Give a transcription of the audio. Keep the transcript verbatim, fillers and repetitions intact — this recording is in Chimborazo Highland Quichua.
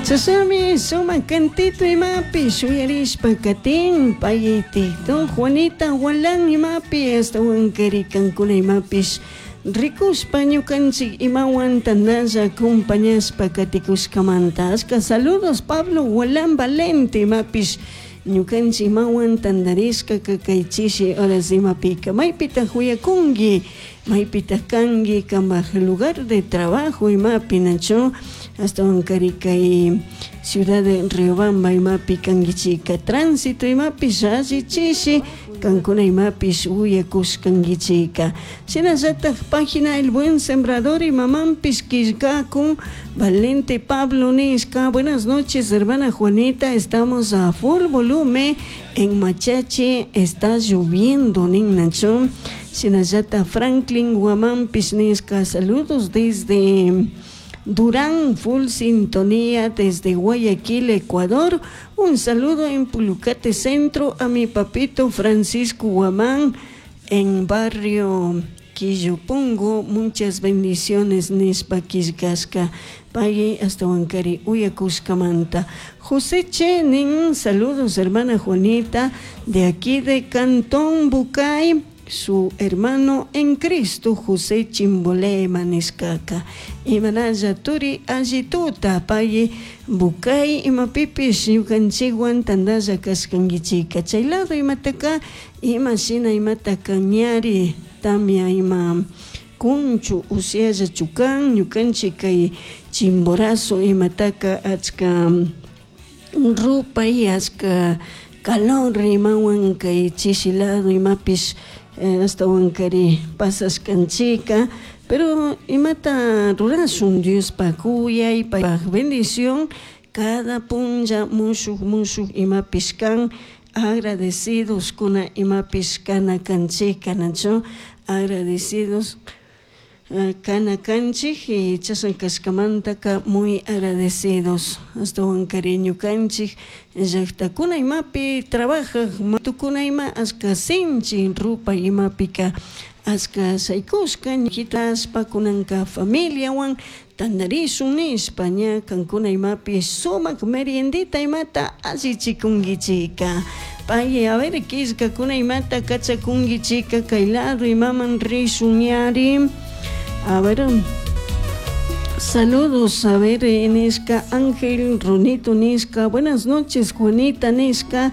Chashnami sumak cantito imapi shuyarishpa katin pay TikTok Juanita Walan imapi ashtawankari kankuna imapish rikushpa ñukanchik imawan tandalla acompañashpa katikushkamanta. Ashka saludos, Pablo Walan Valente imapish ñukanchik imawan tandarishka kay chishi horas imapika. Maypitak uyakunki, maypitak kanki, kambaj lugar de trabajo imapi, nachu? Ashtawankari kay ciudad de Riobamba imapi kankichika, tránsito imapish alli chishi kankuna imapish uyakushkankichika. Shinallatak página El Buen Sembrador imamanpish killkakun Valente Pablo nishka: "Buenas noches, hermana Juanita, estamos a full volumen en Machachi, está lloviendo", nin, nachu? Shinallatak Franklin Guamanpish nishka: "Saludos desde Durán, full sintonía desde Guayaquil, Ecuador. Un saludo en Pulucate Centro a mi papito Francisco Guamán en barrio Quillopongo. Muchas bendiciones", nishpa killkashka. Pay ashtawankari uyakushkamanta. José Chenin: "Saludos, hermana Juanita, de aquí de Cantón Bucay, su hermano en Cristo José Chimbolema", nishkaka. Imanalla turi, allituta pay Bucay imapipish ñukanchikwan tandalla kashkankichika. Chay lado imataka, ima shina imata kañari, tamia ima kunchu, usiallachu kan? Ñukanchik kay Chimborazo imataka achka rupay, achka calor imawan kay chishi lado imapish ashtawankari pasashkanchika. Pero imata rurashun, Diospaj kuyay, paypaj bendición cada punlla mushuk mushuk imapish kan. Agradecidos kuna imapish kana kanchik, nachu? Agradecidos kana kanchik y chashna kashkamantaka muy agradecidos. Ashtawankari ñukanchik llaktakuna imapi trabajak tukuna ima ashka sinchi rupay imapika ashka shaykushka ñitashpa kunanka familiawan tandarishun nishpa ña kankuna imapi sumak meriendita imata allichikunkichika. Pay, a ver, killkakuna imata kachakunkichika kay lado imaman rishun yari. A ver, saludos, a ver, nishka Ángel Ronito nishka: "Buenas noches, Juanita", nishka.